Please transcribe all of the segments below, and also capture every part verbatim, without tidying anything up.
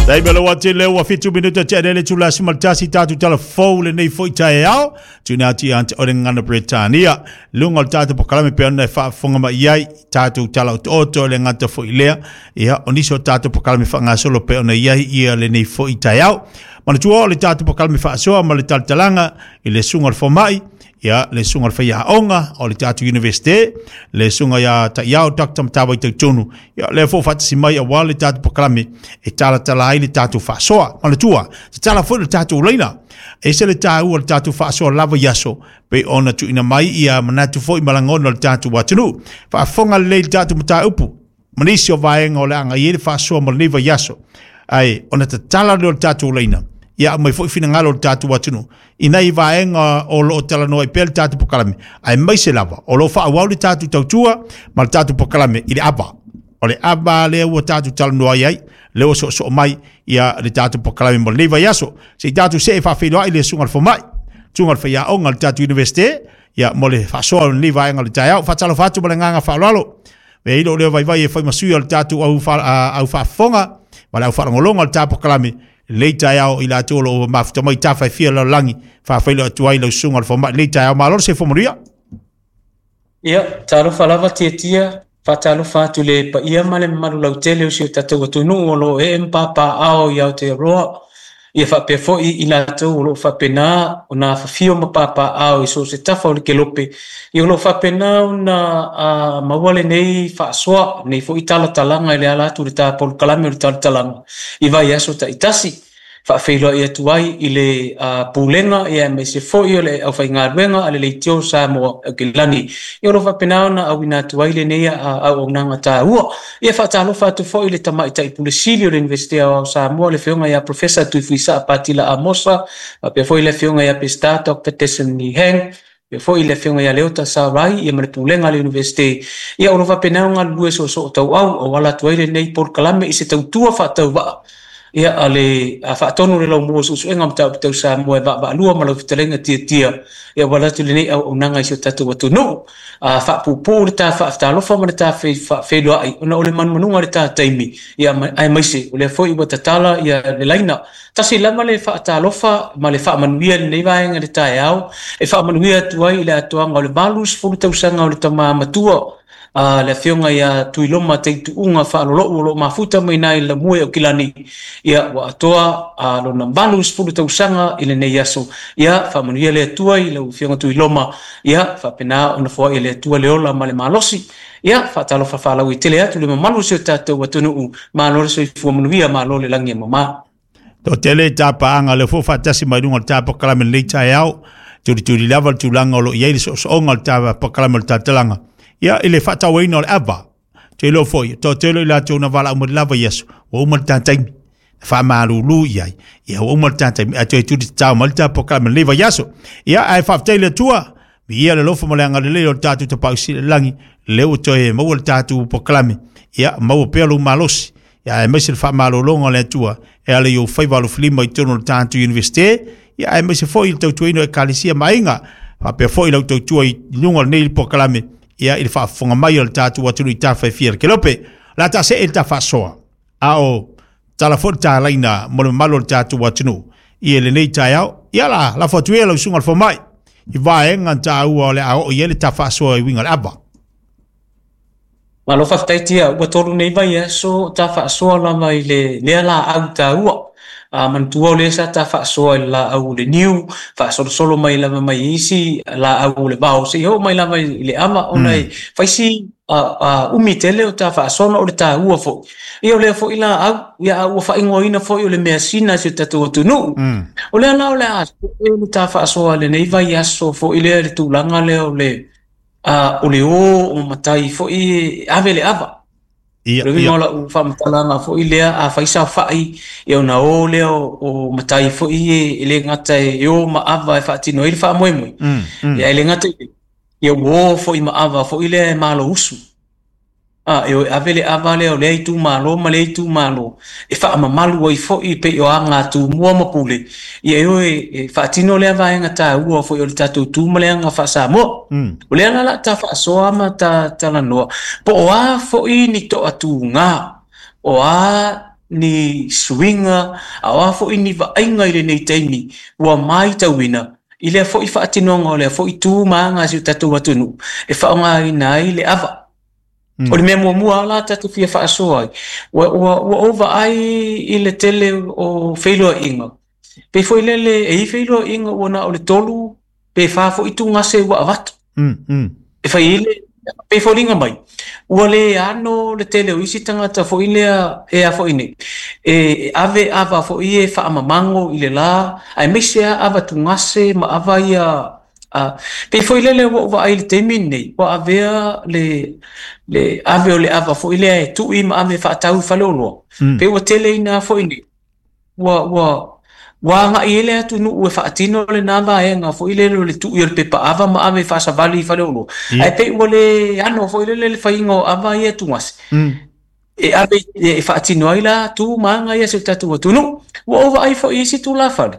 Taimi o le ua tele ua fitu minuta te ane le itula sefulu ma le tasi tatou tala fou lenei foi taeao. Tuuina atu ia te oe le Gagana Peretania. Luga o le tatou polokalame pei ona e faafofoga mai i ai tatou tala otooto le gata foi lea. Ia, o nisi o tatou polokalame faagasolo pei ona i ai ia lenei foi taeao. Manatua o le tatou polokalame faasoa ma le talatalaga i le susuga o le fomai, ia le susuga o le faiaoga o le tatou Universite, le susuga ia Taiao Doctor Matavai Tautono, ia lea foi faatasi mai aua le tatou polokalame e talatala ai le tatou faasoa. Manatua, tatala foi le tatou laina. E ese le taua o le tatou faasoa lava i aso, pei ona tuuina mai ia manatu foi ma lagona o le tatou atunuu. Faafofoga lelei le tatou mataupu, ma nisi o vaega o le a agai ai le faasoa mo lenei vaiaso. Ae ona tatala lea o le tatou laina, ia aumai foi finagalo o le tatou atunuu i nai vaega o lo o talanoa ai pea le tatou polokalame, aemaise lava o lo o faaauau le tatou tautua ma le tatou polokalame i le ava. O le ava lea ua tatou talanoa ai, lea ua soosoo mai ia le tatou polokalame mo lenei vaiaso. Se i tatou see faafeiloai le susuga i le fomai, susuga i le faiaoga o le tatou Universite, ia mo le faasoa o lenei vaega o le taeao. Faatalofa atu ma le agaga faaaloalo. E i lou leo vaivai e fai ma sui o le tatou au, au faafofoga ma le au faalogologo o le tatou polokalame lenei taeao i latou o lo o mafuta mai tafa e fia o le lalolagi. Faafeiloai atu ai lau susuga i le fomai lenei taeao. Malo le soifua manuia. Ia, talofa lava Tiatia, faatalofa atu i le paia ma le mamalu lautele o si o tatou atunuu o lo o ee ma papaaao i Aotearoa, ia faapea foi i latou o lo o faapena ona afafio ma papaaao i so o se tafa o le kelope, ia o lo o faapena ona uh, maua lenei faasoa, lenei foi talatalaga i le ala atu i le ta polokalame o le talatalaga i vaiaso taitasi. Faafeiloai atu ai i le uh, pulega ia aemaise foi o le aufaigaluega a le Leitio Samoa Aukilani, ia o lo o faapena ona auina atu ai lenei uh, auaunaga taua. Ia faatalofa atu foi i le tamaitai pule sili o le Iunivesite Aoao Samoa, le afioga ia Professor Tuifuisaa Patila Amosa, faapea foi le afioga ia Peseta Doctor Desmond Heng, faapea foi le afioga ia Leota Sarai ia ma le pulega a le Iunivesite, ia o lo o faapena ona galulue soosoo tauau auala atu ai lenei polokalame i se tautua faatauvaa ia a le a faatonu le laumua o suesuega o mataupu tau Samoa e vaavaalua ma lau fetalaiga Tiatia, ia auala atu lenei auaunaga i si o tatou atunuu. A faapuupuu le ta faatalofa ma le ta faafeiloai ona o le manumanuga o le ta taimi, ia aemaise o lea foi ua tatala ia le laina. Tasi lava le faatalofa ma le faamanuia i lenei vaega i le taeao, e faamanuia atu ai i le atoaga o le valusefulu tausaga o le tama matua a le afioga ia Tuiloma Teituuga Faalolou o lo o mafuta mai nai le Lamue o Kilani, ia ua atoa a lona valusefulu tausaga i lenei aso. Ia faamanuia le Atua i lau afioga Tuiloma, ia faapena ona foai e le Atua le ola ma le malosi. Ia faatalofa faalauaitele atu le mamalu o si o tatou atunuu, malo le soifua manuia, malo le lagi e mama. Toatele tapaaga lea foi faatasi mai luga o le ta polokalame lenei taeao, tulituli lava le tulaga o lo o i ai le soosooga o le ta polokalame o le talatalaga ia i le faatauaina o le ava. Te iloa foi, toatele i latou na valaau mai lava i aso, ua uma le ta taimi, faamalulu i ai, ia ua uma le ta taimi, ae toe tuli tatao mai le ta polokalame lenei vaiaso. Ia, ae faafetai i le Atua, viia le alofa ma le agalelei o le tatou Tapaau Sili i le lagi, lea ua toe maua le tatou polokalame, ia maua pea lou malosi, ia aemaise le faamalologa o le Atua e ala i ou faiva alofilima i totonu o le tatou Universite, ia aemaise foi i le tautuaina o Ekalesia ma aiga, faapea foi lau tautua i luga o lenei polokalame, ia i le faafofoga mai o le tatou atunuu i tafa e fia o le kelope. O le a taasee le ta faasoa, a o tala foi le talaina mo le mamalu o le tatou atunuu i lenei taeao. Ia la, lafo atu ia lau susuga i le fomai i vaega taua o le a oo i ai le ta faasoa i uiga o le ava. Malo faafetai Tia, ua tolu nei vaiaso ta faasoa lava i le lea laau taua. A manatua o lea sa ta faasoa i le laau o le niu, faasolosolo mai lava mai isi laau o le vao, seia oo mai lava i le ava, ona e fai si umi tele o ta faasoa ona o le taua foi. Ia o lea foi laau, ia a ua faaigoaina foi o le measina i si o tatou atunuu. O lea la o le a le ta faasoa i lenei vaiaso foi lea i le tulaga lea o le o le o o matai foi e ave le ava. Ia, O le uiga ia. o lau faamatalaga foi lea, a fai saofai, ia ona o lea o, o matai foi e, e le gata e o ma ava e faatino ai le faamoemoe. Mm, mm. Ia e le gata i lea, ia ua o foi ma ava foi lea e malousu. A, e o e ave le ava lea o lea itumalo ma lea itumalo, e faamamalu ai foi pei o aga tumua ma pule, ia e o e, e faatino lea vaega taua foi o le tatou tu ma le aga faa-Samoa. Mm. O lea la la ta faasoa ma ta talanoa, po o a foi ni toatuga, o a ni suiga a o a foʻi ni vaaiga i lenei taimi ua maitauina i lea foʻi faatinoga o lea foʻi tu ma aga a si o tatou atunuu e faaaogāina ai le ava. Mm. O le mea muamua la tatou fia faasoa ai ua ua ua ou vaai i le tele o feiloaiga pei foi lele e i feiloaiga ua na o le tolu pe fā foʻi tugase ua avatu Mm. Mm. e fai ai le pei foliga mai ua lē ano le tele o isi tagata foʻi lea e a foʻi nei e e ave ava foʻi e faamamago i le lā aemaise a ava tugase ma ava ia a pei foi lele ua ou vaai i le taimi lenei ua avea le le ave o le ava foʻi lea e tuʻi ma ave faatau i faleoloa Mm. pe ua tele ina foʻi nei ua ua ua agaʻi ai le atunuu e faatino lenā vaega foʻi lele o le tuʻi o le pepa ava ma ave faasavali i faleoloa Ia. ae pei ua lē ano foʻi lele le faiga o ava ia tugase Mm. e ave e faatino ai la tu ma aga ia se o tatou atunuu ua ou vaai foʻi isi tulafale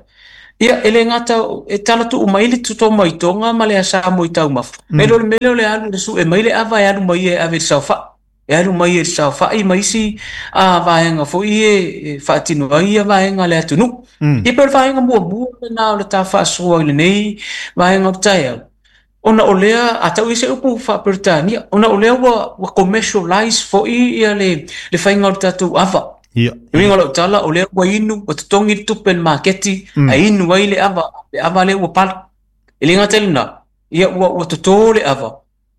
ia e lē gata e talatuu mai le toto mai toga ma le asā mo i taumafa Mm. e lo le mele o le alu le suʻe mai le ava e alu mai ia e ave i le saofaʻi e alu mai e le saofaʻi ma isi a vaega foʻi e e faatino ai ia vaega a le atunuu Mm. ia pe o le vaega muamua lenā o le ta faasoa i lenei vaega o le taeao ona o lea a tau i se upu faaperetania ona o lea ua ua commercialize foʻi ia le le faiga o le tatou ava Ia. e uiga o lau tala o lea ua inu ua totogi le tupe i le maketi Mm. ae inu ai le ava le ava lea ua pala e lē gata i lenā ia ua ua totō le ava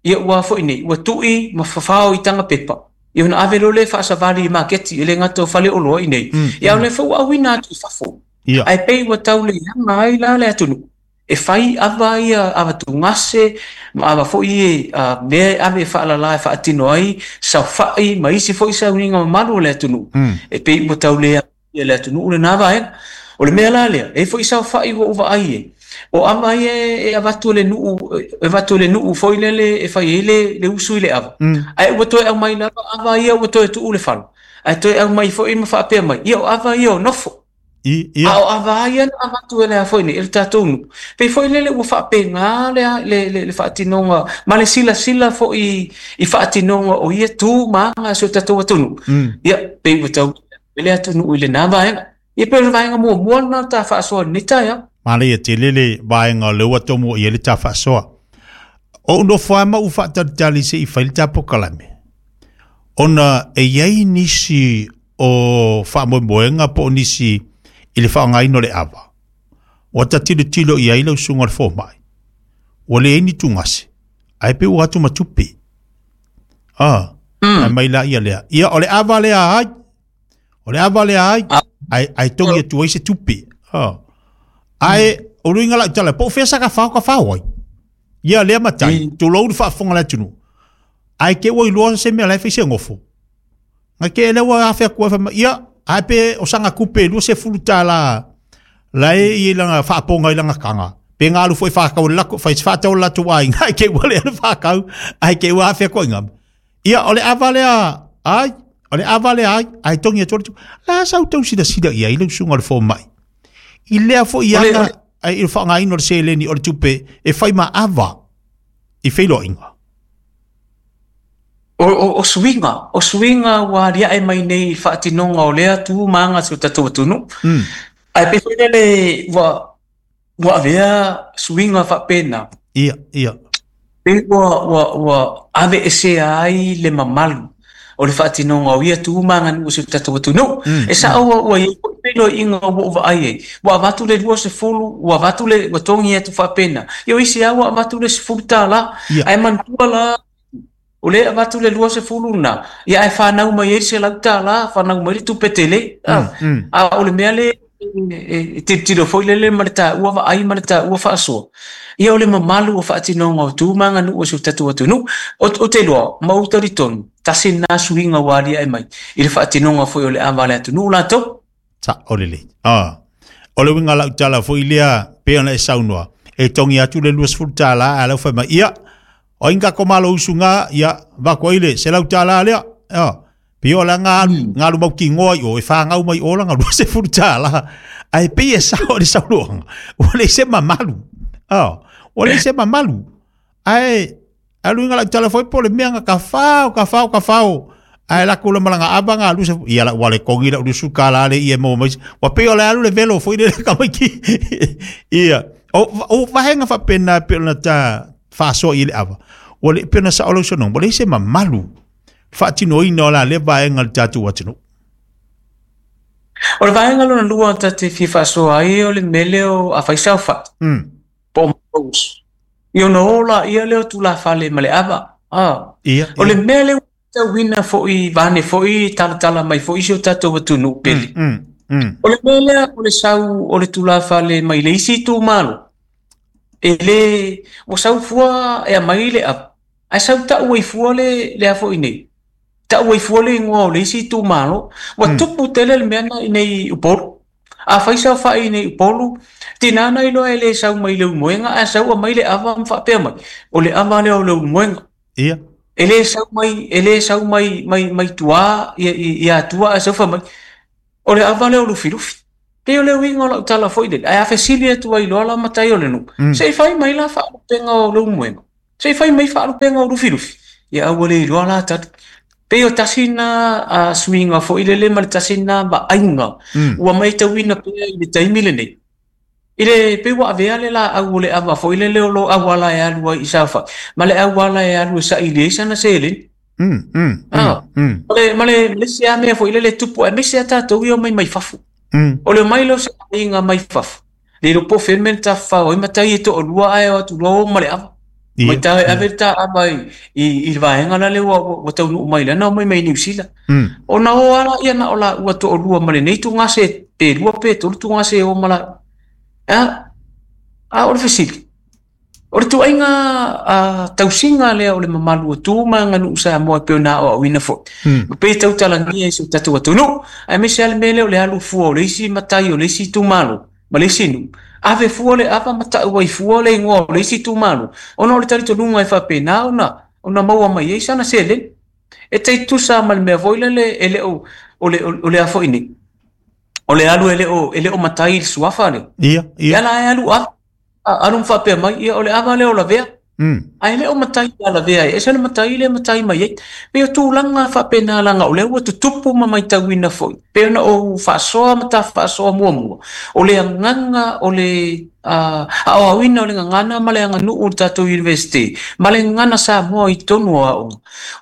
ia ua foʻi nei ua tuʻi ma fafao i taga pepa ia ona ave loa lea faasavali i maketi e lē gata o faleoloa i nei Mm. ia o lea foi ua auina atu i fafo Ia. ae pei ua tau leaga ai la le atunuu e fai ava ia ava tugase ma ava foʻi e a mea e ave e faalalā e faatino ai saofaʻi ma isi foʻi sauniga mamalu o le atunuu Mm. e pei ua tau lea ia le atunuu lenā vaega o le mea la lea e foʻi saofaʻi ua ou vaai ai o ava ia e avatu e le nuu e avatu e le nuu foʻi lele e fai ai le le usu i le ava Mm. ae ua toe aumai lava ava ia ua toe tuu le fala ae toe aumai foʻi ma faapea mai ia o ava ia o nofo I, ia. a o ava ia na avatu e le a foʻi nei e le tatou nuu pei foʻi lele ua faapegā le le le, le faatinoga ma le silasila foʻi i faatinoga o ia tu ma aga a si o tatou atunuu Mm. ia pei ua tau e le atunuu i lenā vaega ia pei o le vaega muamua lenā o ta faasoa i lenei taeao Male ia tele le vaega o le ua tomo i le ta faasoa. O nofo ai ma u faatalitali se i fai le ta pokalame. Ona e iai nisi o faamoemoega po o nisi i le faaaogaina o le ava. Ua ta tilotilo i ai lau susuga o le fomai. Ua leai ni tugase. Ae pe ua atu ma tupe. Ah, Mm. ae mai la ia lea. Ia o le ava lea ai. O le ava lea ai. Ah. Ai ai tongi atu ai se tupe. Ah. Ae o luiga lau tala po o fea sa ka fao ka fao ai. Ia lea matai, Mm. tulou le faafofoga le atunuu. Ae ke ua iloa se mea la e fai se gofo. Ga ke le ua afe atu ai fai mai, ia, ae pe o saga kupe lua sefulu tālā la e i langa faapoga i langa kaga. Pe galu foʻi faakau le lako, fai se faatau le latou aiga, ae ke ua lea le faakau, ae ke ua afe atu ai gama. Ia, o le ava lea ai, o le ava lea ai, ae togi atu ai le tupe. La sa outou silasila i ai lau susuga o le fomai. I lea foʻi O le- aga o le- ai i le faaaogaina o le seleni o le tupe e fai ma ava i feiloaiga. O, o, o suiga, o suiga ua aliae mai nei i le faatinoga o lea tu ma aga a si o tatou atunuu. Mm. Ae pei foi lele ua ua avea suiga faapena. Ia, ia. Pei ua ua ua aveesea ai le mamalu o le faatinoga o ia tu ma aganuu o si o tatou atunuu. Mm. E sao ua ua iai foʻi feiloaiga ua ou vaai ai. Ua avatu le lua sefulu, ua avatu le ua togi atu faapena. Ia o isi lava ua avatu le sefulu tālā. Ia. Ae manatua la o lea e avatu le lua sefulu lenā, ia ae fanau mai ai le selau tālā, fanau mai le tupe tele. Mm. Mm. A o le mea le e tilotilo foʻi lele ma le taua vaai ma le taua faasoa. Ia o le mamalu o faatinoga o tu ma aganuu o si o tatou atunuu. O, o te iloa, ma ou talitonu, tasi lenā suiga ua aliae mai i le faatinoga foʻi o le ava a le atunuu latou. Sa o le lei. Ah. O le uiga lau tala foʻi lea pe ona e saunoa. E togi atu le lua sefulu tālā ae lau fai mai. Ia, o inga ko malo usuga, ia, vako ai le selau tālā lea. Ah. Pe o la ngalu, Mm. ngalu mau kingoa i o, e whāngau mai o langa lua sefulu tālā. Ae pei e sao le saunoaga. Ua leai se mamalu. Ah. Ua leai se mamalu. Ae, ae luiga lau tala foi po o le mea nga ka fao, ka fao, ka fao. Ae la kula malanga ava nga alu se ia la wale kongi la lusu kala le ia mo mai wa pe o le alu le velo foi le ka mai ki ia o o vahenga fa pena pe na ta fa so i le ava o le pena sa olo sono mo le se mamalu fa tino ina la le vaenga le tatu atino. O le vaenga lona lua ta te fia faasoa ai o le mele o a faisau fa mm po mo ia no ola ia le tulafale ma le ava ah ia o le mele tauina foi vane foi talatala mai foi si o tatou atunuu pele. Mm, mm. O le mea lea o le sau o le tulafale mai le isi itumalo e le ua sau fua e aumai le ava ae sau ta'u ai fua le le a foi nei ta'u ai fua le igoa o le isi itumalo ua Mm. tupu tele le mea na i nei Upolu. A fai saofa'i i nei Upolu tinā na iloa e lē sau mai le ulumoega ae sau aumai le ava ma faapea mai o le ava lea o le ulumoega. Ia E lē sau mai e lē sau mai mai mai tuā ia ia atua ae sau fai mai o le ava lea o Lufilufi. Pei o le uiga o lau tala foi lele ae a fesili atu ai loa la matai o le nuu mm. se i fai mai la faalupega o le ulumoega se i fai mai faalupega o Lufilufi ia aua le iloa la tali. Pei o tasi na a suiga foi lele ma le tasi na vaaiga Mm. ua maitauina pea i le taimi lenei. I le pei ua avea le laau o le ava foi lele o lo auala e alu ai i saofa'i ma le auala e alu e saili ai sana seleni. Mm, mm, Ah, mm, ma le ma le le isi lava mea foi lele tupu aemaise a tatou ia o mai mai fafo. mm. O le omai lea o se aiga mai fafo le iloa po o fea le mea na tafafao ai matai e to'alua ae o atu loa o ma le ava. Mai Ia ta e ia ave le taava i i i le vaega la lea ua ua taunuu mai lana o mai mai Niu Sila. Mm. Ona o ala ia na o laua to'alua ma lenei tugase pe lua pe tolu tugase e o ma laua. A a o le fesili o le tuaiga a tausiga lea o le mamalu o tu ma aganuu Samoa e pei ona aoaoina foi. Mm. Ma pei e tautalagia i so tatou atunuu aemaise lava le mea lea o le alu fua o le isi matai o le isi itumalo ma le isi nuu. Ave fua le ava ma ta'u ai fua le igoa o le isi itumalo ona o le talitonuga e faapena ona ona maua mai ai sana seleni. E taitusa ma le mea foi lele e le o o le o le a foi nei o le alu e le o e le o matai i le suafa lea. Ia E ia ala e alu ava alu ma faapea mai ia o le ava lea o lavea. Mm. Ae le o matai ia lavea ai e ese le matai lea e matai mai ai. Pei o tulaga faapena laga o lea ua tutupu ma maitauina foi. Pei ona ou faasoa ma tafaasoa muamua o le agaga o le uh, aoaoina o le gagana ma le aganuu o le tatou University ma le gagana Samoa i totonu o aoga.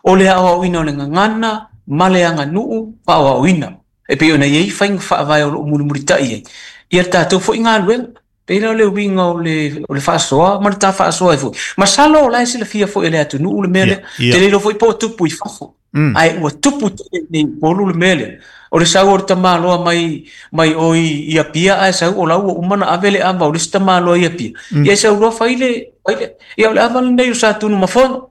O le aoaoina o le gagana ma le aganuu faaoaoina. E pei ona iai faiga faavae o loo mulimulita'i ai ia le tatou foi galuega. Pei la o le uiga o le o le faasoa ma le tafaasoa ai foi. Masalo o la e silafia foi e le atunuu le mea Ia lea. ia Te le iloa foi po o tupu i fafo. Mm. Ae ua tupu tele nei Upolu le mea lea. O le sau o le tamāloa mai mai o i i Apia ae sau o la ua uma ona ave le ava o le isi tamāloa i Apia. Mm. Ia e sau loa fai le fai le ia o le ava lenei o Satunumafono.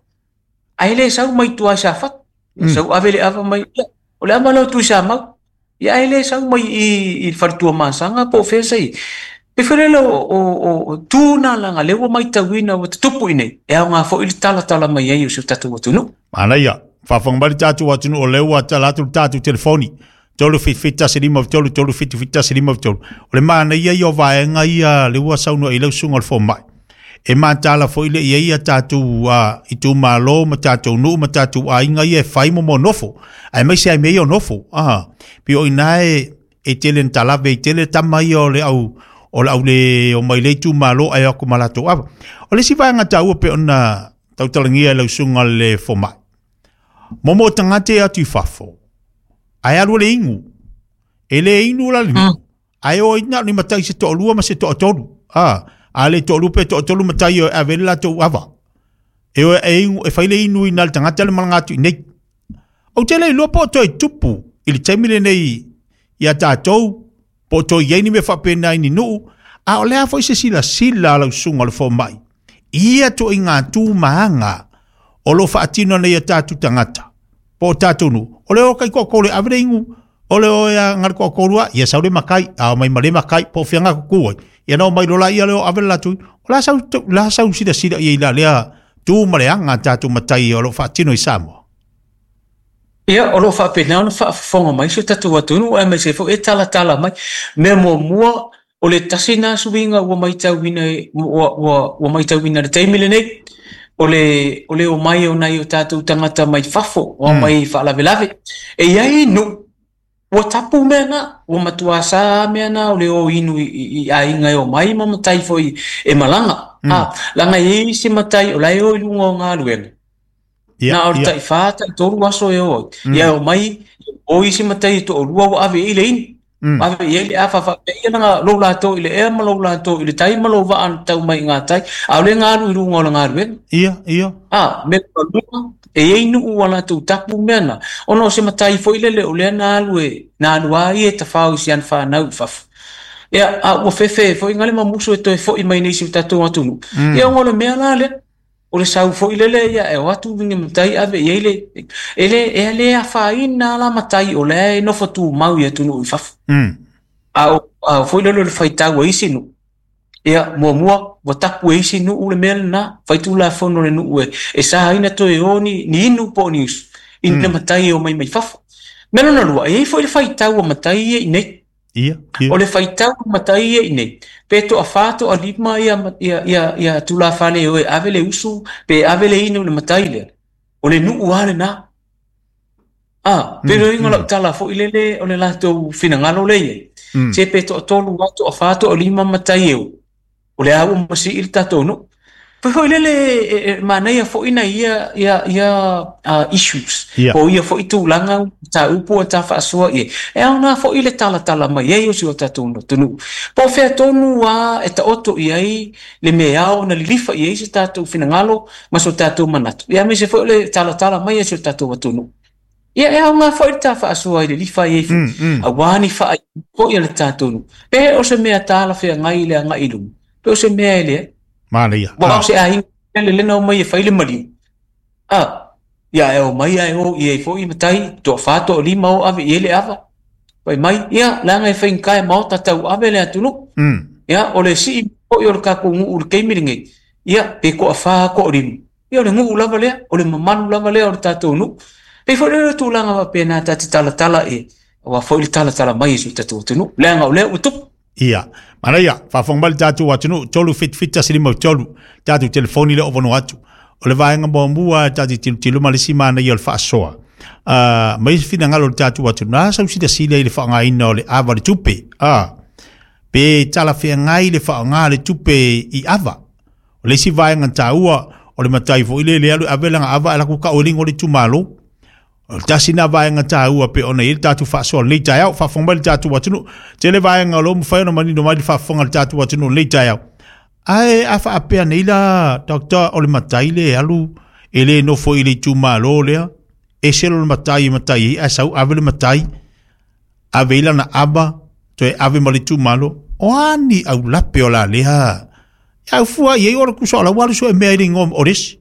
Ae le sau mai tua i Safata. Ia Mm. sau ave le ava mai ia o le ava lea o Tuisamau. Ia ae le sau mai i i le faletuamasaga po o fea sa i. Pe foi lele o o o tu na laga lea ua maitauina ua tutupu i nei e aoga foi le talatala mai ai o si o tatou atunuu. Manaia faafofoga mai le tatou atunuu o lea ua tala atu le tatou telefoni tolu fitu fitu tasi lima tolu tolu fitu fitu tasi lima tolu. O le manaia ia o vaega ia le ua saunoa i lau susuga o le fomai. E matala foi le ia ia tatou uh, itumalo ma tatou nuu ma tatou aiga ia e fai mo mo nofo. Aemaise ai mea ia o nofo. Ah, pei o ina e e tele na talave i tele tama ia o le au o le au le o mai le itumalo ae o atu ma latou ava. O le isi vaega taua pe ona tautalagia e lau susuga le fomai. Momo tagata e atu i fafo. Ae alu le inu. E le inu la le Mm. nuu. Ae o ina ni matai se to'alua ma se to'atolu. Ah, a le to'alua pe to'atolu matai o e ave le latou ava. E o e inu e fai le inu i na le tagata le malaga atu i nei. Ou te le iloa po o toe tupu i le taimi lenei ia tatou po o toe i ai ni mea faapena i ni nuu a o le a foi se silasila a lau susuga o le fomai. Ia toaiga tu ma aga o lo faatino nei a tatou tagata po o tatou nuu. O le o kai toatolu e ave le inu o le o ia ngale toatolu a ia sau le makai a o mai ma le makai po o fea gakuku ai. Ia na o mai lola ia le o ave le latou. O la sau la sau silasila i ai la lea tu ma le aga a tatou matai o lo faatino i Samoa. Ia o loo faapena ona faafofoga mai si o tatou atunuu aemaise foi e talatala mai. Mea muamua o le tasi na suiga ua maitauina ua ua ua maitauina i le taimi lenei. O le o le o mai o nai o tātou tangata mai fafo o mai faalavelave. E iai nu'u ua tapu mea na, ua matuā sā mea na o le o inu i, i, i aiga e o mai ma matai foi e malaga. Mm. Ah, laga e iai se matai o lae o i luga o galuega. Ia, Na o le ia. taʻifā taʻitolu aso e o ai. Mm. Ia o mai o isi matai e toʻalua ua ave i le inu. Mm. Ave i ai le afa faapea ia laga lou latou i le ea ma lou latou i le tai ma lou vaa na tau mai i gatai. A o le galu i luga o le galuega. Ia, ia. Ah, mea lua, e iai nu'u ua latou tapu mea na. Ona o se matai foi lele o lea na alu e, na alu a ia e tafao i si ana fanau i fafo. Ia, a ua fefe foi gale ma musu e toe fo'i mai nei si o tatou atunuu. Mm. Ia ona o le mea la lea. O le sau foi lele ia e o atu ni matai ave i ai le, e le, e le afaina la matai o lea e nofo tumau i atunuu i fafo. Mm. A o, a o foi lele o le faitau a isi nu'u. Ia, muamua, ua tapu e isi nu'u le mea lenā, faitulafono le nu'u e, e sāina toe o ni, ni inu po o ni usu, i ni Mm. matai e o mai mai fafo. Mea lona lua, e iai foi le faitau a matai ia i nei. Ia, ia. O le faitau a matai ia i nei, pe toʻafā toʻalima ia, ia, ia, ia tulafale e o e ave le usu, pe ave le inu i le matai lea. O le nu'u a lenā. Ah, pe Mm, loiga lau mm. tala foi lele o le latou finagalo le iai. Mm. Se pe toʻatolu a toʻafā toʻalima matai e o. O le a ua masi'i le tatou nu'u. Foi foi lele e, e, manaia foi na ia ia ia uh, issues. Ia. Po o ia foi tulaga mataupu a ta faasoa i ai. E aogā foi le talatala mai ai o si o tatou atunuu. Po o fea tonu a e taoto i ai le mea ao ona lilifa i ai se tatou finagalo ma so tatou manatu. Ia aemaise foi o le talatala mai e si o tatou atunuu. Ia e aogā foi le ta faasoa i le lifa i ai foi. Mm, mm. Auā ni faaiuga foi a le tatou nuu. Pe o se mea talafeagai i le agaʻi i luma. Pe o se mea e leai. Manaia. Ua o Ah. se aiga le lena o mai e fai le maliu. Ah, ia e o mai ae o i ai foi matai toʻafā toʻalima o ave i ai le ava. Fai mai, ia, leaga e faigata e maota tauave le atunuu. Mm. Ia, o le si'i foi o le tatou nu'u i le taimi lenei. Ia, pe toʻafā toʻalima. Ia, o le nu'u lava lea, o le mamalu lava lea o le tatou nu'u. Pei foi lea o le tulaga faapena ta te talatala e, auā foi le talatala mai e si o tatou atunuu. Leaga o lea ua tupu. Ia. Manaia, faafofoga mai le tatou atunuu, tolu fitu fitu tasi lima tolu, tatou telefoni le o avanoa atu. O le vaega muamua tatou tilotilo ma le isi manaia o le faasoa. Uh, mai se finagalo o le tatou atunuu, na sau silasila i le faaaogaina o le ava o le tupe. Ah, pe talafeagai le faaaoga le tupe i ava. O le isi vaega taua o le matai foi le le alu ave lana ava ala ku ka o le igoa o le itumalo. O le tasi na vaega taua pe ona i ai le tatou faasoa lenei taeao, faafofoga mai le tatou atunuu. Tele vaega o lo o mafai ona manino mai le faafofoga a le tatou atunuu lenei taeao. Ae a faapea nei la, Doctor, o le matai le alu e le nofo i le itumalo lea, ese lona matai e matai ai, ae sau ave le matai, ave i lana ava, toe ave ma le itumalo. O a ni aulape o la lea. Ia au fua i ai o le kusa o la ua alu sue mea i le igoa o le isi.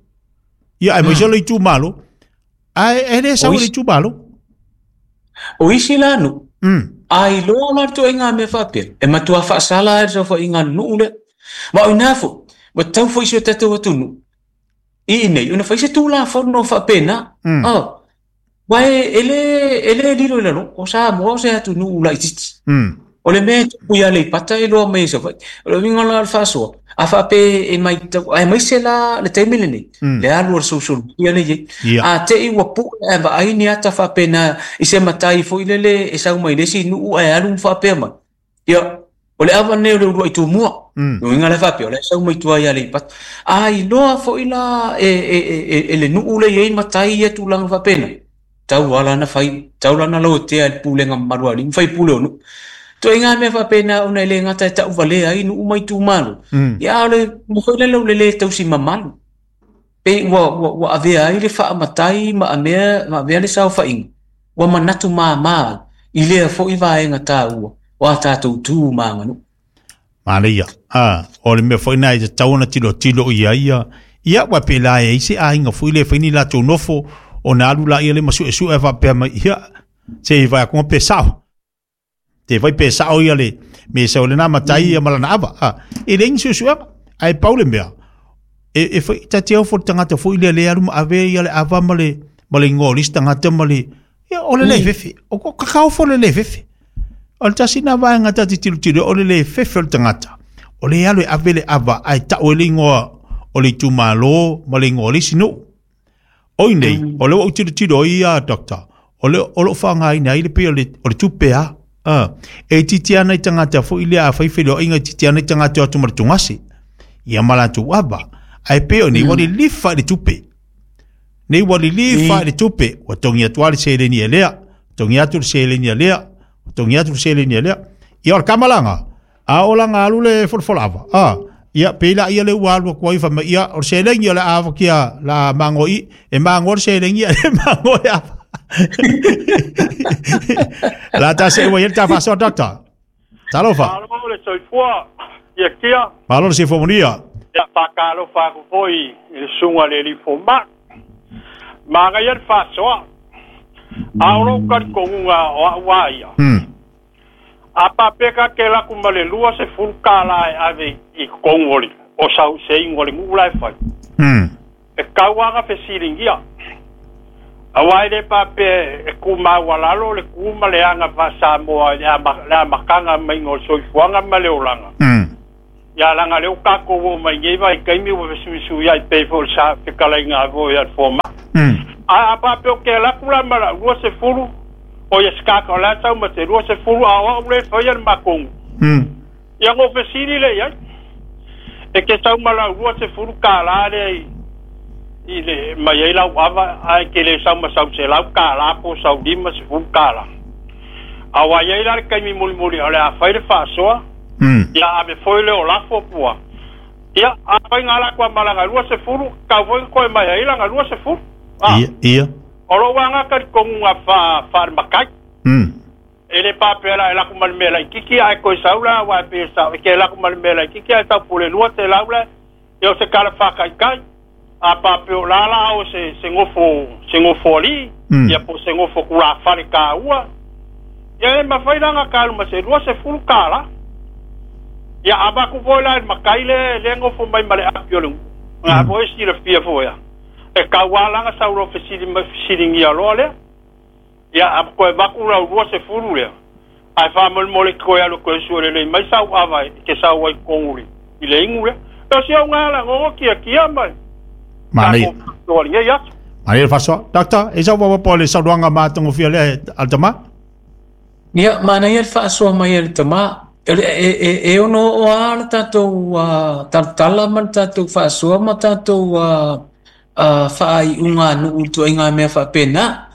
Ia aemaise o le itumalo, ae e le O sau i le isi, itumalo. o isi la nu'u. Mm. A iloa la le toaiga mea faapea. E matuā faasala ai le saofaiga a le nu'u lea. Ma o inā foi, ua tatau foi si o tatou atunuu. I inei, ona fai se tulafono faapena. Mm. Ah, uae e le, e le lilo i lalo, o Samoa o se atunuu laitiiti. Mm. O le mea e tupu i Aleipata e iloa mai e Savaii. O le uiga la o le faasoa, a faapea e maitau, aemaise la le taimi lenei, Mm. le alu o le social media lea e i ai. Ia. A te'i ua pu'e ae vaai ni ata faapena i se matai foi lele e sau mai le isi nu'u ae alu ma faapea mai. Ia, o le ava lenei o le ulua'i tumua. Mm. Le uiga la e faapea, o la e sau mai tua i Aleipata. A iloa foi la e, e, e, e, e le nu'u lea e i ai matai ia tulaga faapena. Tau lava lana fai, tau lana lauatea i le pulega mamalu a alii ma faipule o nu'u. Toaiga mea faapena ona e le gata e taʻuvalea ai nu'u ma itumalo. Mm. Ia a o le mea foi lele o le lē tausi mamalu. Pe ua, ua, ua avea ai le faamatai ma amea, ma avea le saofaiga. Ua manatu māmā ai i lea foi vaega taua o a tatou tu ma aganuu. Manaia. Ah, o le mea foi na e tatau ona tilotilo i ai ia. Ia ua pe la e ai se aiga foi le fai ni latou nofo ona alu laia le ma suesue faapea mai ia. Se i vai atu pe sao. Te vai pe sao ia le me sau le na matai ia ma lana ava. Ah, e le ni suesuega. Ae pau le mea. E e foi ta te au fo le tagata foi le le alu ma ave ia le ava ma le ma le igoa o le isi tagata ma le ia o le le fefe. O ko kakao fo le le fefe. O le tasi na vaega ta te tilotilo o le le fefe o le tagata. O le alu e ave le ava ae ta'u e le igoa o le itumalo ma le igoa o le isi nuu. Oi nei, o le ua ou tilotilo ai ia doctor, o le o loo faaaogaina ai le pei o le o le tupe a. Ah, e itiiti ana i tagata foi lea afai feiloaiga e itiiti ana i tagata o atu ma le tugase. Ia ma latou ava. Ae pei o nei ua lilifa i le tupe. Nei ua lilifa i le tupe. Ua togi atu lava le seleni e lea. Togi atu le seleni a lea. Togi atu le seleni a lea. Ia o le kamalaga. A o laga alu le folafola ava. Ah, ia pei laia le ua alu atu ai fai mai ia o le seleni o le a avakia la mago i e mago le seleni ae le mago le ava. La ta se ua i le ta faasoa doctor. Talofa. Malo le soifua, ia kia. Malo le soifua manuia. Ia faatalofa atu foi i le susuga i le alii fomai. Manaia le faasoa. A o lou talitonuga o au a ia. A paapea ke laku ma le lua sefulu kālā e ave i totonu o le o sau se igu o le nuu la e fai. E tau lava na fesiligia. Auā e lē paapea e tumaualalo le tu ma le aga faa-Samoa i le amataga maiga o le soifuaga ma le olaga. Ia laga lea ua tatou oo mai nei vaitaimi ua fesuisuiai pei foi o le sa fetalaiga foi a le fomai. Ae a faapea ou te alu atu la ma lau lua sefulu, o ia se tagata o la e sau ma se lua sefulu, a o au lea e faia le matou nuu, ia ona ou fesili lea i ai, e te sau ma lau lua sefulu kālā lea i i le mai ai lau ava, ae te le sau ma sau selau kālā po o sau lima sefulu kālā. Aua e i ai la le taimi mulimuli o le a fai le faasoa, ia ave foi lea o lafo pua. Ia, afai na ala atu lava ma lana lua sefulu, tatau foi ona toe mai ai lana lua sefulu. A, Ia, ia. o lou aga talitonuga faa, faalematai. E le paapea la e alu atu ma le mea laitiiti ae toe sau la, aua e pei e sao, e te alu atu ma le mea laitiiti ae sau pule lua selau la, ia o se tala faataitai. A paapea o la la o se, se nofo, se nofo alii, ia po o se nofo tulafale taua, ia e mafai la ona ta alu ma se lua sefulu tālā. Ia avatu foi la i le matai le le nofo mai ma le api o le nuu. Na foi e silafia foi a. E tau lava la ona sau loa fesili mai fesiligia loa lea. Ia a toe avatu lau lua sefulu lea, ae faamolemole toe alu toe sue lelei mai sau ava e te sau ai i totonu i le inu lea. O si au gala gogo kiakia mai. Manaia. Tatou faasoa i lenei aso. Manaia le faasoa. Doctor, e sau faaopoopo o le saunoaga matagofie lea a le tama? Ia, manaia le faasoa mai a le tama. E, e, e ono oo lava le tatou uh, talatala ma le tatou faasoa ma tatou uh, uh, faaiuga nuu i ituaiga mea faapena.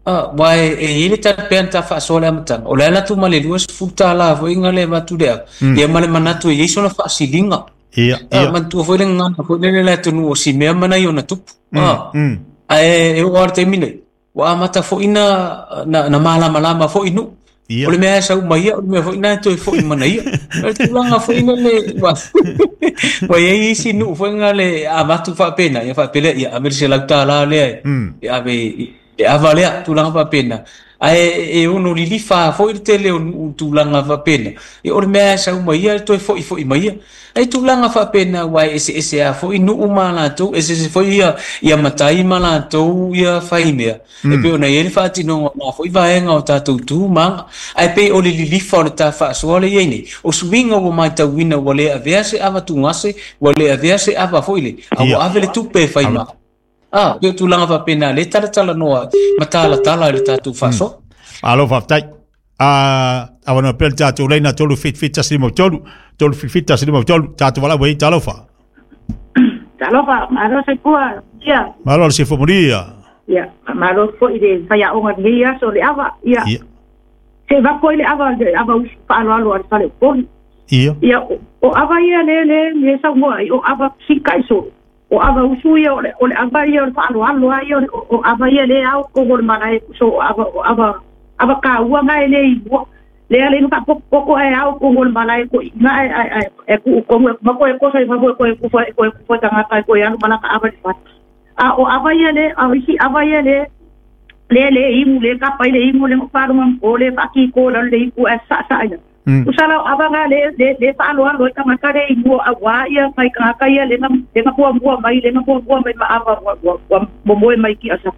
Uh, aua e, e i ai le tala pea na ta faasoa i le amataga, o le ala atu ma le lua sefulu tālā foi na le avatu le ava, ia ma le manatu e i ai sona faasiliga. Ia, Uh, ia. manatua foi le gagana foi lele i le atunuu o Simea ma nai ona tupu. Uh, Mm. ae e oo lava i le taimi nei, ua amata foi na, na, na malamalama foi nuu. Ia. O le mea e sau mai ia, o le mea foi na e toe foi mana ia. O le tulaga foi lele, ua ua i ai isi nuu foi na le avatu faapena, ia faapea lea, ia ave le selau tālā lea e, Mm. e ave i le ava lea, tulaga faapena. Ae e ono lilifa foi le tele o nuu i tulaga faapena. Ia o le mea e sau mai ia, e toe foi foi mai ia. Ae tulaga faapena aua e eseese lava foi nuu ma latou, eseese foi ia, ia matai ma latou ia faimea. E pei ona i ai le faatinoga o na foi vaega o tatou tu ma aga. Ae pei o le lilifa o le ta faasoa lea e i ai nei, o suiga ua matauina ua le avea se ava tugase, ua le avea se ava foi le, a Ia. ua ave le tupe e fai ma. Ah, pei o tulaga faapena lea e talatalanoa ma talatala i le tatou faasoa. Malo faafetai. Ah, avanoa pea le tatou laina tolu fitu fitu tasi lima tolu, tolu fitu fitu tasi lima tolu, tatou valaau ai, talofa. Talofa, malo soifua, ia. Malo le soifua manuia. Ia, malo foi le faiaoga i lenei aso le ava, ia. Ia. Se vaku ai le ava, le ava usu faaaloalo a le fale o Upolu. Ia. Ia, o, o ava ia le, le, le saunoa ai, o ava sikai solo. O ava usu ia, o le, o le ava ia o le faaaloalo a ia, o le, o ava ia le ao kogo le malae so o ava, o ava, ava kaua nga e le i mua. Lea le inu faapokopoko ae ao kogo le malae ko i nga e, e, e, e kuu komu e mako e kosa i fafo e koe kufa, e koe kufa tangata e koe alu malaka ava le fale. A o ava ia le, a o isi ava ia le, le le imu le kapa i le imu le ngopalunga o le faakiko lalo le ipu ae saʻasaʻa ina. Usa la o ava nga le le le faaloalo ai tagata le i mua auā ia mai tagata ia le na le na muamua mai le na muamua mai ma ava ua ua ua momoe mai ki asa.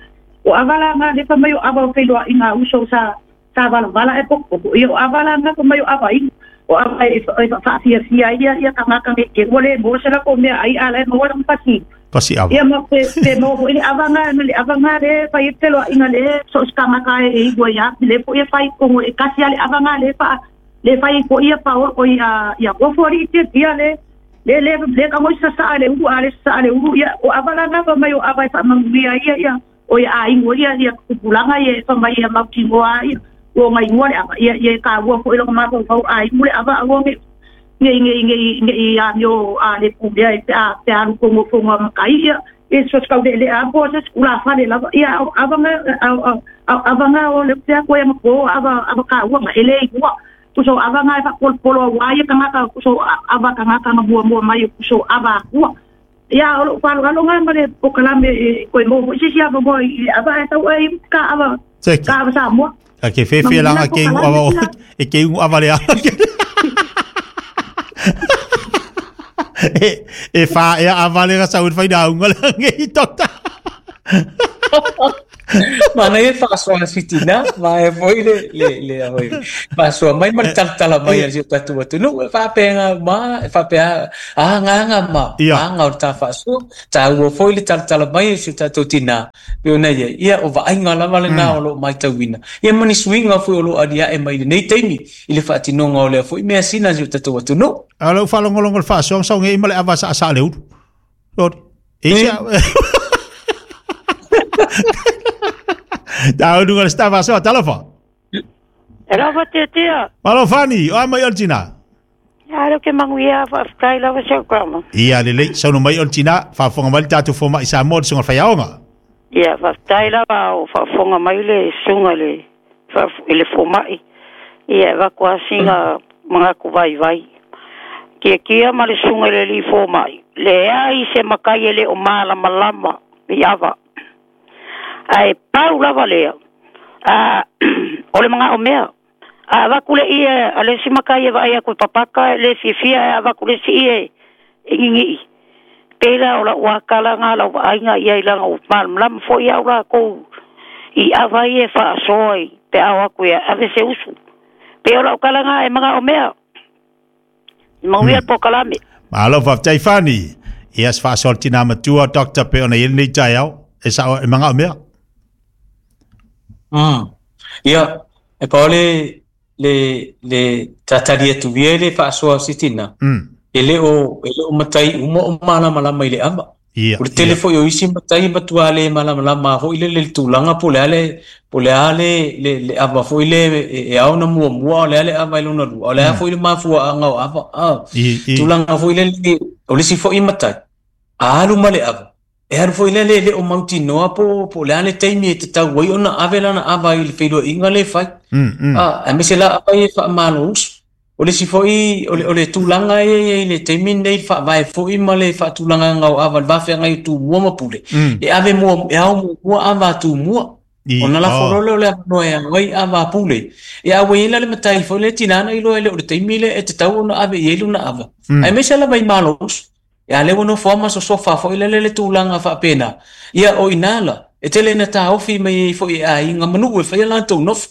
O ava la nga le fa mai o ava o feiloaʻiga a uso sa sa valavala e pokopoko. Ia o ava la nga fa mai o ava inu. O ava e faafia ia ia tagata nei ke ua lē maua se lako mea ai a lae maua lana pasi pasi ava ia ma pe pe maua foʻi le avaga ma le avaga lē fai ai feloaʻiga lē so o se tagata e iua iā lē foʻi e fai kogo e kasi a le avaga lē faa lē fai ai foʻi ia paolo oi a ia ofo aliʻi tiatia lē le le le ka ngoi sasaʻa le ulu a le sasaʻa le ulu ia o ava lana fa mai o ava e faamanuia ia ia o ia aiga ia ia kupulaga ia e famai ia mautinoa ia ua gaigoa le ava ia ia e kāua foʻi lona mafaufau aigu le ava aua ge nei nei nei nei amio a le pulea e pe a pe alu kogofoga makai ia e sosikauleʻeleʻa a po se sikulafale lava ia avaga avaga o le pea koe ma po ava ava kāua e lē igua kuso avaga e faapolopolo auā ia tagata kuso ava tagata na muamua mai kuso ava akua ia o lou faloaloga ma le pokalame e koe mo foʻi sisi ava moa i le ava ae tau ai ka ava ka ava Samoa A ke fefe langa ke ingu ava o e ke ingu ava le e e fa e ava le sa un faina unga le i tota. Mana e faasoa sitina ma e foi le le le hoi faasoa mai ma le talatala mai a si o tatou atunuu e faapega ma e faapea agaga ma aga o le ta faasoa taua foi le talatala mai a si o tatou tinā pe ona ia ia o vaaiga lava lenā o loo maitauina ia ma ni suiga foi o loo aliae mai lenei taimi i le faatinoga o lea foi mea sina si o tatou atunuu a lou faalogologo le faasoaga saugei ma le ava saasaa le ulu e Tau nunga le stava soa, talofa. Alofa tiatia. Malo fani, o mai o le tina. Ia alo ke manguia whaaftai lava seu grama. Ia lelei, sauno mai o le tina, whaafonga mai le tātou fōma i Samoa le sunga whaiaonga. Ia, whaaftai lava o whaafonga mai le sunga le, i le fōmai. Ia, wakua singa mangaku vai vai. Kia kia ma le sunga le li fōmai. Le ai se makai ele o malama lama i ava. Ai pau lava lea. A o le manga o mea. A vakule ia a le simaka ia vai a papaka le fiafia a vakule si ia e ngingi. Pela o la wakala ngā la vainga ia i langa o malamlama fo ia o la kou i ava ia whaasoi pe au aku ia ave se usu. Pe o la ukala ngā e manga o mea. I mauia mm. po kalame. Malo whaftai whani. Ia se whaasoi tina matua Doctor pe ona ili nei au. E sa e manga o mea. Mm. Ia, e pao le le le tatali atu via le faasoa o sitina. Mm. E le o e le o matai uma o malamalama i le ava. Ia. O le tele foi o isi matai matua le malamalama foi le le tulaga po le ale po le ale le le ava foi le e ao na muamua o le ale ava i lona lua. O le a foi le mafuaaga o ava. Ah. Tulaga foi le o le si foi matai. A alu ma le ava. E aru foi le le o mautinoa po po le ale taimi e te tau ai ona ave lana ava i le feiloaiga le fai. Mm, mm. Ah, a mese la ava e faamalo usu. O le si foi o le o le tulaga e i le taimi nei faavae foi ma le faatulagaga o ava le vafeagai o tumua ma pule. Mm. E ave mua e ao muamua ava a tumua. Ona lafo loa lea o le avanoa e ao ai ava a pule. E a ua i la le matai foi le tinana i loa e le o le taimi le e te tau ona ave i ai lona ava. Mm. Ae mese lava i malo usu. Ia le wono fo ma so sofa fo ile le tulaga faapena. Ia o inala e tele na taofi mai fo i aiga manu e fai la tou nofo.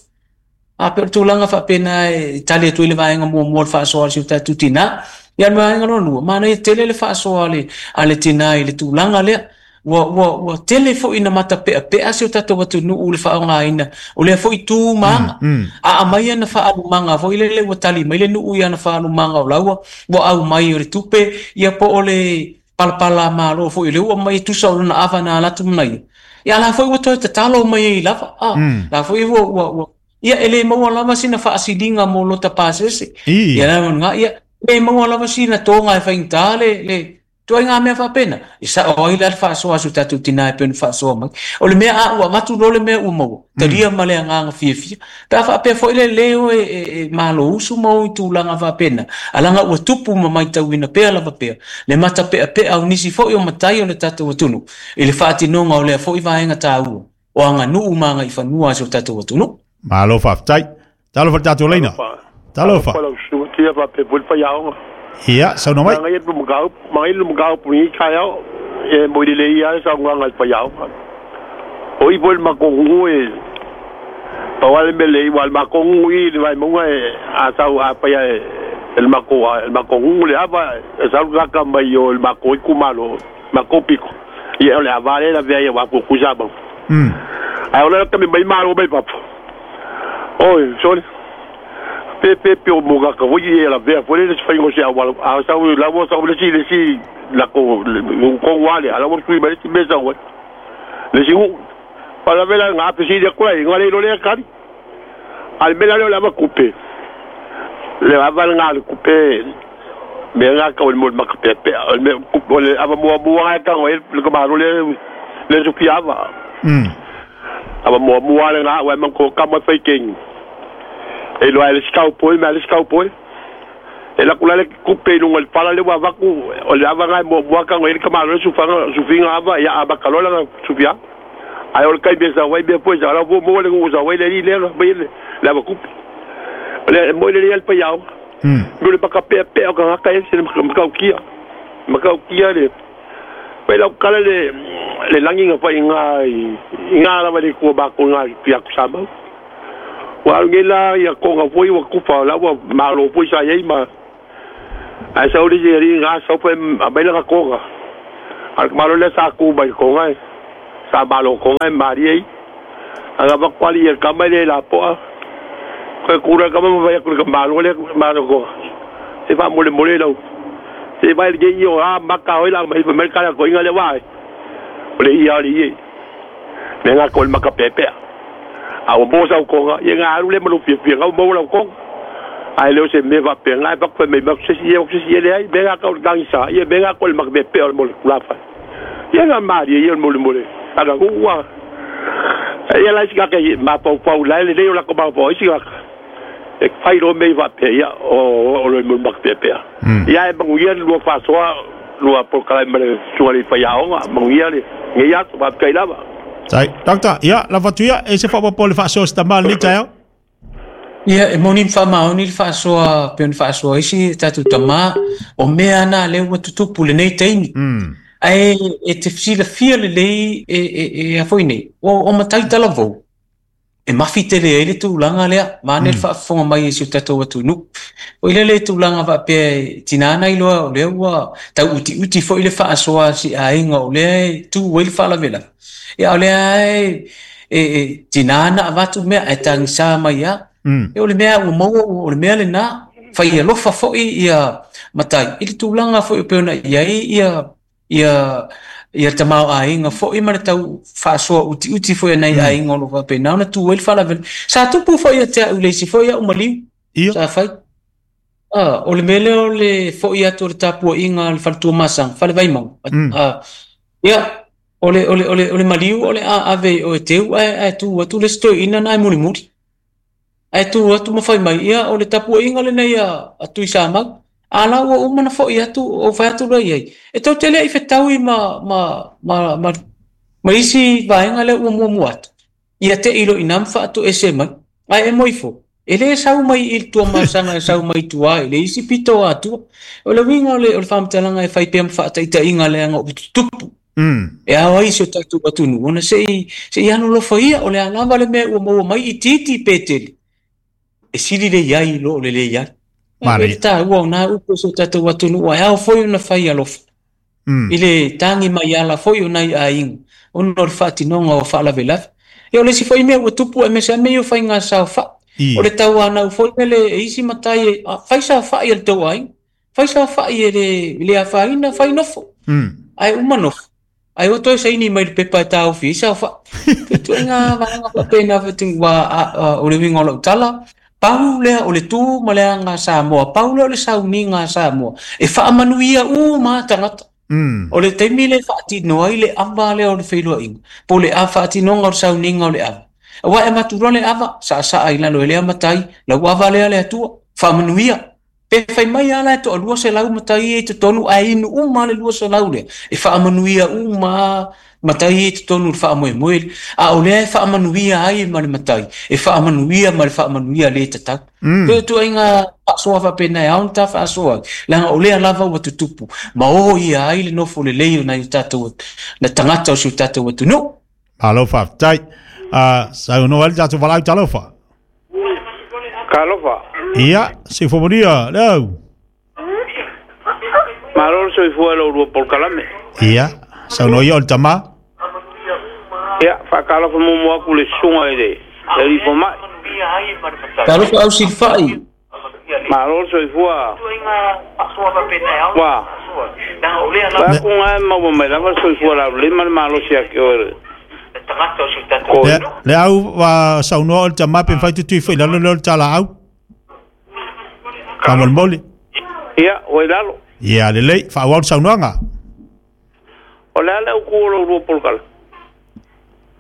A pe o tulaga faapena e tali atu i le vaega muamua le faasoa le si o tatou tinā. Ia le vaega lona lua, mana e tele le faasoa le a le tinā i le tulaga lea. Ua ua ua tele foʻi na matapeapea se o tatou atunuu le faaaogāina o lea foʻi tu maga. Mm, mm. A aumai ana faalumaga foi lele ua tali mai le nuu ia ana faalumaga o laua ua aumai o le tupe ia po o le palapala malo foi le ua mai tusa o lona ava na alatu manaia. Ia la foi ua toe tatalo mai ai lava. Ah, Mm. la foi ua ua ua ia e le maua lava sina faasiliga mo lota pasese. I. Ia la nga ia le maua lava sina tonga e faigata le le tuai ngā mea faapena. I sa o ai la le faasoa su tatou tinā e pea ona faasoa mai. O le mea a ua avatu loa le mea ua maua. Talia ma le agaga fiafia. Pe a faapea foi le lē o e, e, e malo usu ma o i tulaga faapena. Alaga ua tupu ma maitauina pea lava pea. Le matapeapea o nisi foi o matai o le tatou atunuu. I le faatinoga o lea foi vaega tāua. O aganuu ma agaifanua a si o tatou atunuu. Malo whaftai. Talofa le tātou leina. Talofa. Talofa lau suga tia faapea foi le faiaoga. Ia, sauno mai. Manga ia lumagau, manga ia lumagau puni kai au, e mo le ia sa nganga i faiaoga. O i foi le makongu e pawale mele i wal makongu i le vai munga e a sau a paia e El mako el mako le ava e sa lu ka mai o el mako i kumalo mako piko ia o le ava le la vea ia wa ku ku sa ba mm ai o le ka mai malo mai papa oi sorry pe pe pe o mo ka voi ia la vea foi le fai ngo se awa a sa u la wo sa le si le si la ko ko wale ala wo tui mai ti mesa wa le si u para ver nga pe si de ko ai ngale lo le kari al mela le la va couper le ava nga le couper me nga ka o mo ma pe pe me couper le ava mo mo nga ka le ko ma le le su piava mm ava mo mo le nga wa man ko ka mo fai king e lo ale skau poi me ale skau poi e la kula le couper no le pala le wa va ku o le ava nga mo mo ka le ka ma le su fa su finga ava ya ava ka lo la su pia ai o le kai be sa wai be poi sa la mo mo le ko sa wai le le le la va couper le mo le le pa yao mm mo le pa ka pe pe o ka ka se ma ka kia ma ka kia le pe la kala le le langi nga fa inga inga la va le ko ba ko nga pia ku sa ma wa nge la ya ko nga foi wa kufa la wa ma lo foi sa yei ma ai sa uri ri nga sa pe a ba la ko nga al ma lo le sa ku ba ko nga sa ma lo ko nga ma ri aga ba kwali ya ka ma le la po ko kura ka ma va ku ka ma lo le ma lo ko se va mo le mo le lo se va el ge yo a ma ka oi la ma ma ka ko inga le wa le ia le me nga ko ma ka pepe a o bo sa ko nga ye nga ru le mo fi fi nga mo la ko ai le se me va pe nga pa ko me ma se si ye se si le ai me nga ko gang sa ye me nga ko ma pepe o mo la fa ye nga ma ye ye mo le mo le aga ku wa ye la si ka ke ma pa pa la le le la ko ma pa si ka e fai ro me va pe ya o o le mo ma pepe ya e mo ye lo fa so lo por kala me su le fa ya o mo ye le nge ya va kai la va. Tai, doctor, ia, la fatuia, e se whapapo le whaasoa se tamā le taeo? Ia, e moni mwhamaoni le whaasoa, pe on whaasoa isi, tātou tamā, o mea ana leo ua tutupu le nei teimi. Mm. Ai, e te whisila fia le lei e, e, e a foi nei, o, o matai talavou. E mafi te le ele tūlanga lea, mane le mm. whaafonga mai e si o tātou atu nuku. O ile le tūlanga whapea tinana iloa o lea ua tau uti uti fo ile whaasoa si ainga o lea tū wei le whaalavela. Ia o lea e, e, e tinana avatu mea e tangisa mai ia. Mm. E o le mea ua maua o le mea le nā, whai alofa foi ia matai. I le tūlanga foi o peona ia i ia ia ia tamau ainga foi ma le tau whaasoa uti uti foi nei mm. ainga o lo whape nā ona tū wei le whaalavela. Sa tupu foi ia te au leisi foi ia umaliu. Ia. Sa whai. Ah, o le mele o le foi atu o le tāpua inga le whaletua masanga, whale vaimau. Mm. Ah, ia, o le, o le, o le, o le maliu o le a ave o e teu ai ai tu atu le stoi ina nai muri muri. Ai tu atu ma whai mai ia o le tāpua inga le nei a, a tui sa mau. A la ua umana foi atu o whai atu rei ai. E tau te lea i whetaui ma, ma, ma, ma, ma isi vaenga le ua mua mua atu. Ia te ilo ina mwha atu e se mai. Ai e moifo. E le sau mai i tua masanga e sau mai tua e le isi pito atua. O le winga o le, o le whamtalanga e whai pea mwha ita inga le anga o tutupu. Mm. E awa i se o tātou atunu. Ona se i, se i anu lofa ia o le alava le mea ua maua mai i titi petele. E sili le iai lo o le le iai. Mare. E tā ua o nā upo so tātou atunu ua e ao foi ona whai alofa. Mm. I le tāngi mai ala foi o nai a inga. Ona o le whaatinonga o whaalavelave. E o le si foi mea ua tupu e mese a mea o whai ngā sao wha. I. O le tau anau foi mele e isi matai e whai sao wha i le tau ainga. Whai sao wha i le, le a whaina whai nofo. Mm. Ai uma nofo. Ai o toi saini mai le pepa e tāu fi sao wha. Tu e ngā wahanga whapena whatingu wa o le winga o lau tala. Pau lea o le tū ma lea ngā Samoa, pau lea o le sauni ngā Samoa. E whaamanuia u mā tangata. Mm. O le teimi le whaatinoa i le awa lea o le whailua inga. Po le a whaatinoga o le sauniga o le awa. Awa e matura le awa, sa sa ai lalo e lea matai, lau awa lea le atua, whaamanuia. Pe whai mai ala e toa lua se lau matai e te tonu a inu uma le lua se lau lea. E whaamanuia uma matai e te tonu le whaamoemoe. A o lea e whaamanuia ai ma le matai. E whaamanuia ma le whaamanuia le tatau. Mm. Pe tu ai ngā whaasoa whapena e aon tā whaasoa. Langa o lea lava ua tutupu. Ma o ia ai le nofo le lei o nai tātou, na tangata o si o tātou atu. No! Alofa, tai. Uh, sa uno ali tātou walau talofa. Kalofa. Ia, se fomonia, leo. Malo soifua lo lua polokalame. Ia, saunoa ia o le tamā. Ia, faatalofa muamua atu le susuga i le le alii fomai. Talofa au silafai. Malo le soifua. Ua. Vae kuga e maua mai lava le soifua laulelei ma le malosi ia te oe le. Le, le au wa saunoa o le tamā pe mafai tutui foi i lalo lea o le talaau. Faamolemole. Ia, ua i lalo. Ia, lelei, faaauau le saunoaga. O le a le autu o lou lua polokalame?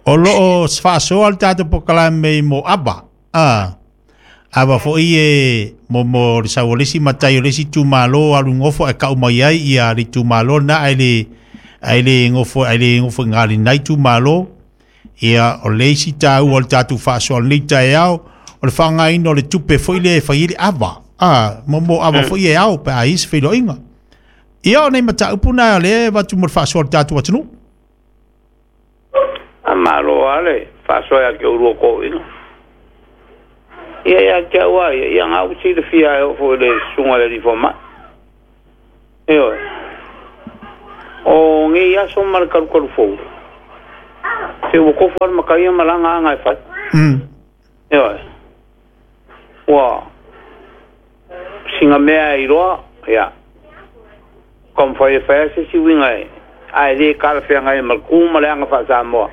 O loo faasoa le tatou polokalame i mo ava. Ah. Ava foi e mo mo le sau o le isi matai o le isi itumalo alu gofo ae kau mai ai ia le itumalo lena ae le ae le gofo ae le gofo i galinai itumalo. Ia o le isi taua o le tatou faasoa o lenei taeao o le faaaogaina o le tupe foi lea e fai ai le ava. Ah, mo mo ava foi e ao pe a i ai se feiloaiga. Ia o nei mataupu na o lea e avatu mo le faasoa o le tatou atunuu. A malo lava le faasoa ia te oulua toeaiina. Ia ia te au lava ia, ia na ua silafia e oo foi i le susuga i le alii fomai. Ioe. O nei aso ma le kalukalu fou, se ua tofu lava le mataia ma lana aga e fai. Mm. Ioe. Ua sina mea e iloa, ia, taumafai e fai lava se isi uiga e, ae le talafeagai ma le tu ma le aga faa-Samoa,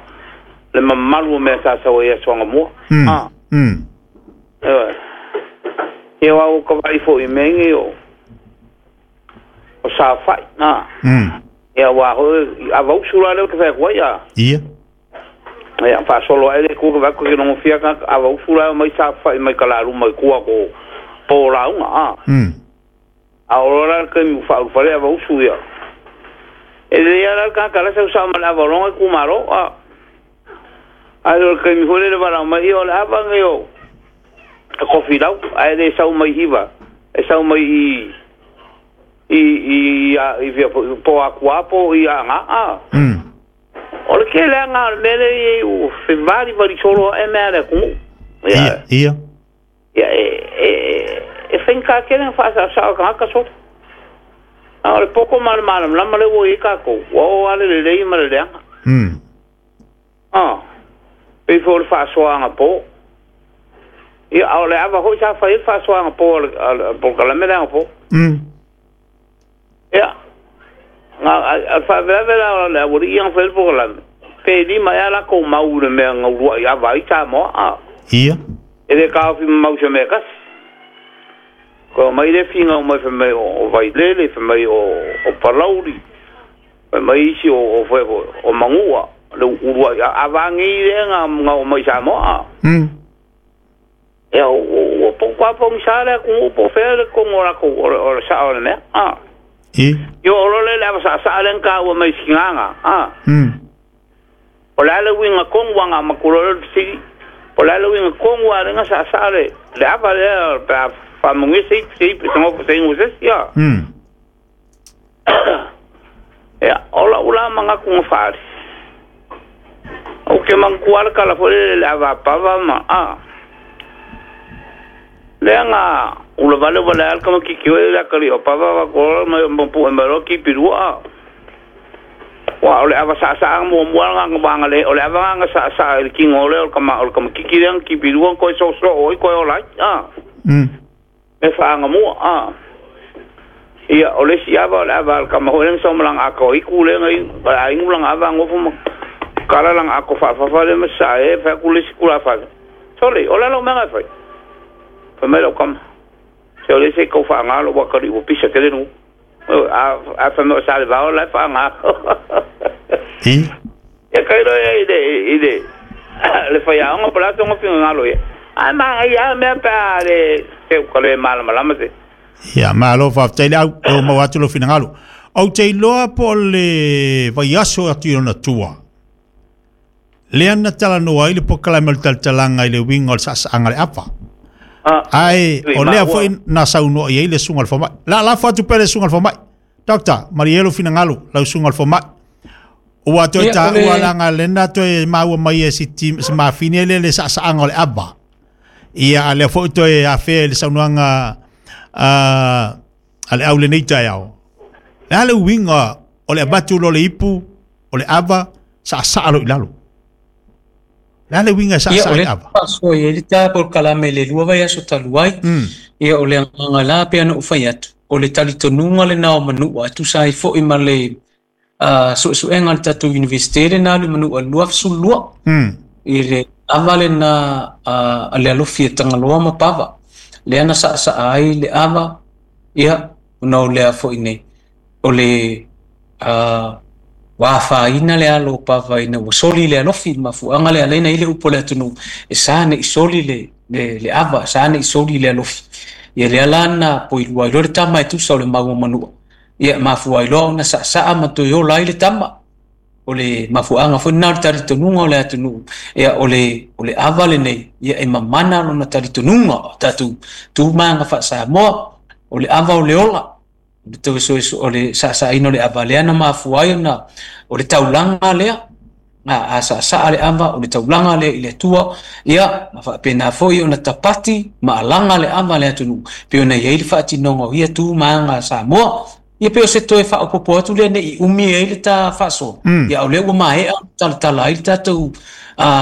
le mamalu o mea sa sau ai i aso anamua. Mm. Ah. Mm. Ioe. Ia aua ua tavaai foi i mea nei o o saofai, ah. Mm. Ia aua foi avausu la lea ou te fai atu ai, ah. Ia. Ia faasolo ae le Atua ke vaai atu ke logofia tagata avausu la e omai saofai mai kalaluma i tua ko po lauga, ah. Mm. A o loa la le taimi ua faaulufale avausu ia. E lelei lava la le tagata la sau sao ma le ava o lona itumalo, ah. Ae o le taimi foi lea le valaau mai, ia o le ava lenei o Kofilau, ae le sau mai Hiva, e sau mai i i i i i fea foi, po o Atua po o i Aana, ah. Mm. O le tele lava o le mea lea e i ai ua fevalivali solo ae mea a le atunuu. Ia, Ia, ia. ia e, e, e faigata tele ona faasaosao e tagata solo. A o le poto ma le malamalama lea ua i ai tatou, ua oo lava le lelei ma le leaga. Mm. Ah, pei foi o le faasoaga po. Ia, a o le ava foi sa fai ai le faasoaga po a le, a le polokalame lea anapo. Mm. Ia, na, a, a le faalavelave la o le aualii ia na fai ai le polokalame, pe lima ea latou mau i le mea na uluai ava ai Samoa, ah. Ia. E le taofi mamau i se mea e tasi. Toe omai le finau mai fai mai o, o Vailele, fai mai o, o Palauli, fai mai isi o, o, fai foi, o Manua, le uluai a- ava nei lea na, na oo mai i Samoa, ah. Mm. Ia, ua ua pau pogisa le atunuu po o fea le tonu o latou o le o le sao o le mea, ah. I. Ia oo loa lea i le ava saasaa lea na taua mai i Sinaga, ah. Mm. O le a le uiga tonu a na amatu loa lea o le fesili, po o le a le uiga tonu a lea na saasaa le le ava lea pe a faamanuia se ipu se ipu se nofo se inu se isi, ah. Mm. Ia, o lau la manatu na faali, ou te manatua lava le tala foi lele i le ava a Pava ma, ah. Lea na ula vale vale ai le tamaitiiti foi le atalii o Pava avatu loa ma ma pue mai loa kipi lua. Aua o le ava saasaa muamua lena na vaga le o le ava lena na saasaa i le tino lea o le tama o le tamaitiiti lea na kipi lua na toe soosoo ai toe ola ai, a. Mm. Mea faagamua, a. Ia, o le isi ava o le ava a le tama foi lea na sau ma lana ato aitu lea na inu, a inu lana ava nofo ma kala lana ato faafafa lea ma sasae ai fai atu le isi tulafale. Sole, o le a lau mea na e fai? Fai mai lau tama, Se o lea se i tau faaga lou atalii ua pisa tele nuu. A, a fai mai o Salevao la e faaga. I. Ia tailo ia i le, i le, le faiaoga po o le a sona finagalo ia. Ae manaia lava mea pe a le, se ua le malamalama se. Ia, malo faafetai le au, e ua maua atu lou finagalo. Ou te iloa po o le vaiaso atu i lona tua, lea na talanoa ai le polokalame o le talatalaga i le uiga o le saasaaga o le ava. Ah, Ae i o lea maua. foi na saunoa i ai le susuga o le fomai. La lafo atu pea le susuga o le fomai. Doctor, malie lou finagalo, lau susuga o le fomai. Ua toe Ia, o taua le laga lena toe maua mai e si ti si mafine lea le saasaaga o le ava. Ia, a lea foi toe afea i le saunoaga a a le au lenei taeao. Le a le uiga o le avatu loa o le ipu o le ava saasaa lo i lalo? Le a le uiga e Ia saasaa o i le le ava? Faasoa i ai le ta polokalame i le lua vaiaso talu ai. Mm. Ia o le agaga la pei ona ou fai atu, o le talitonuga lena o Manua e tusa ai foi ma le uh, suesuega a le tatou Universite lena alu i Manua i le lua sefulu lua. Mm. I le ava lena uh, a le alofi e Tagaloa ma Pava. Lea na saasaa ai le ava, ia, ona o lea foi nei. O le uh, ua afaina le alo o Pava ina ua soli le alofi, le mafuaaga lea ala ai na i le upu a le atunuu, e sa nei soli le, le, le ava, sa nei soli le alofi. Ia lea la na poilua ai loa le tama e tusa o le mau o Manua. Ia mafua ai loa ona saasaa ma toe ola ai le tama. O le mafuaaga foi lena o le talitonuga o le atunuu. Ia o le, o le ava lenei, ia e mamana lona talitonuga o tatou tu ma aga faa-Samoa. O le ava o le ola. O le toe o le saasaaina o le ava lea na mafua ai ona o le taulaga lea. A, a saasaa le ava o le taulaga lea i le Atua, ia ma faapena foi ona tapati ma alaga le ava le atunuu pei ona i ai le faatinoga o ia tu ma aga a Samoa. Ia pei o se toe faaopoopo atu lea ne i umi ai le ta faasoa. Mm. Ia o lea ua maea ona talatala ai le tatou uh,